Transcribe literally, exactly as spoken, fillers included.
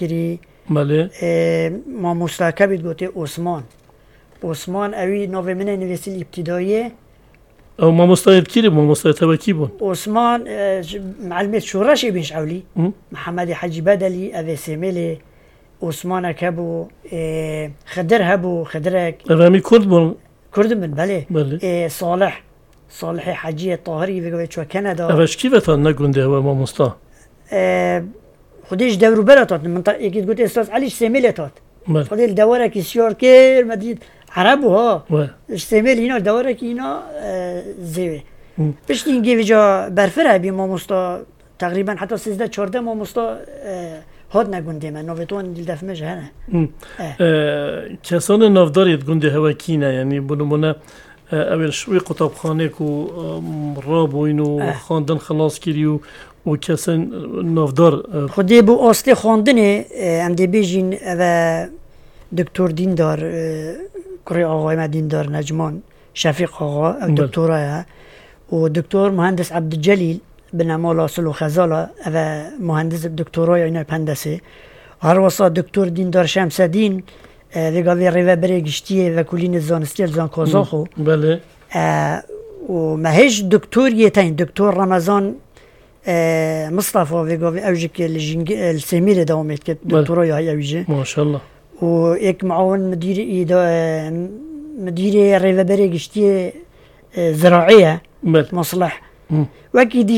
kirî. Belê. E, mamosta kebî gotê Osman. Osman ewî navê min ê nivîsî li îbtîdayê. Ew mamostayê kî bûn? Mamostayê te wekî bûn? Osman, e, ş-, meelimê şoreşê bîn ji ewlî. Hı. Mihemedê Hecî Bedelî, ev ê Sêmêlê. Osmanek hebû, e, Xidir hebû, Xidirek. Ev hemî Kurd bûn? Kurd in, belê. Belê. E, Salih. Salihê Heciyê Tahirî vê gavê çû Kanada. Ev ji kî ve tat ne gundê hewe mamosta? E, Xwedê ji dewrûbera tat, min ta yekî digot Ustaz Elî ji Sêmêlê tat. Belê. Xwedê li dewarekî siyar kir, me dît Ereb bû ha. We. Ji Sêmêlî hîna dewarekî hîna, e, zêwê. Hı. Piştî hingê vêca berfir hebî mamosta, teqrîben heta sêzdeh çardeh mamosta, e, hatine gundê me. Navê wan li def me jî hene. Hı. E. E, kesanê navdar yê di gundê hewe kî ne? Yanî bi nimûne, e, ew ê ji wî qutabxanê ku, e, rabûyîn û Eh. xwendin xilas kirî û, û kesên navdar, e, Xwedê bi astê xwendinê, e, em dê bêjîn, ev e Doktor Dîndar, e, kurê axayê me Dîndar Necman, Şefîq Axa, ew Belê. Doktora ye. Û Doktor Muhendis Ebdulcelîl, binemala Sil û Xezala, ev e muhendis doktora ye, yine pendesê. Her wesa Doktor Dîndar Şemsedîn, e, vê gavê rêveberê giştî yê Vekolînê Zanistî ye li Zankozaxo. Hı, belê. E, û me hêj doktor yê tên, Doktor Remezan, e, Mistefa vê gavê ew jî ki li Jîngi-, e, li Sêmîrê dewam dike, Belê. Doktora ya ew jî. Maşallah. Û êk muawin midîrê îda-, e, midîrê rêveberê giştî yê, e, ziraê ye, Belê. Masleh. Hı. Wekî dî